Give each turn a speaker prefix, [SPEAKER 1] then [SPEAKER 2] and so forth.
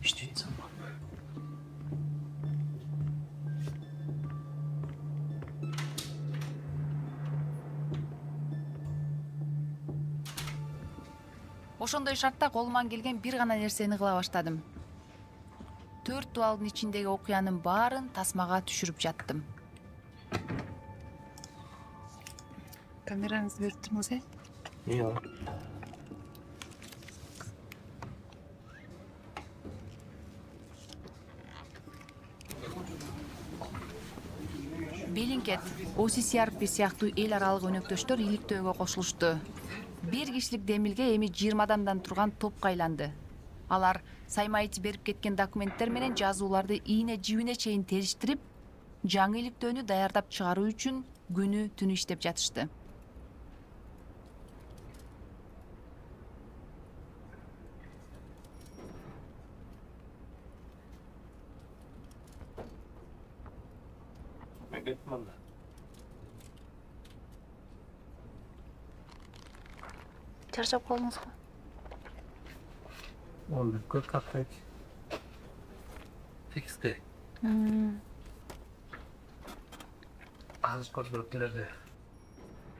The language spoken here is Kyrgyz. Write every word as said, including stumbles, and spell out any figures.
[SPEAKER 1] иштейт атсамбы?
[SPEAKER 2] Ошондой шартта колуман келген бир гана нерсени кыла баштадым. Төрт дубалдын ичиндеги окуянын баарын тасмага түшүрүп жаттым.
[SPEAKER 3] Камераңызды берип туруңуз, э?
[SPEAKER 1] Ооба.
[SPEAKER 2] Белинкет, о си си ар пи сыяктуу эл аралык өнөктөштөр иликтөөгө кошулушту. Бир кишилик демилге эми жыйырма адамдан турган топко айланды. Алар Саймаич берип кеткен документтер менен жазууларды ийне жибине чейин териштирип, жаңы иликтөөнү даярдап чыгаруу үчүн күнү түнү иштеп жатышты.
[SPEAKER 1] Мен кеттим анда.
[SPEAKER 3] Чарчап калдыңызбы?
[SPEAKER 1] он бирге каттайт. Текстте. Азыр көрүп келерди.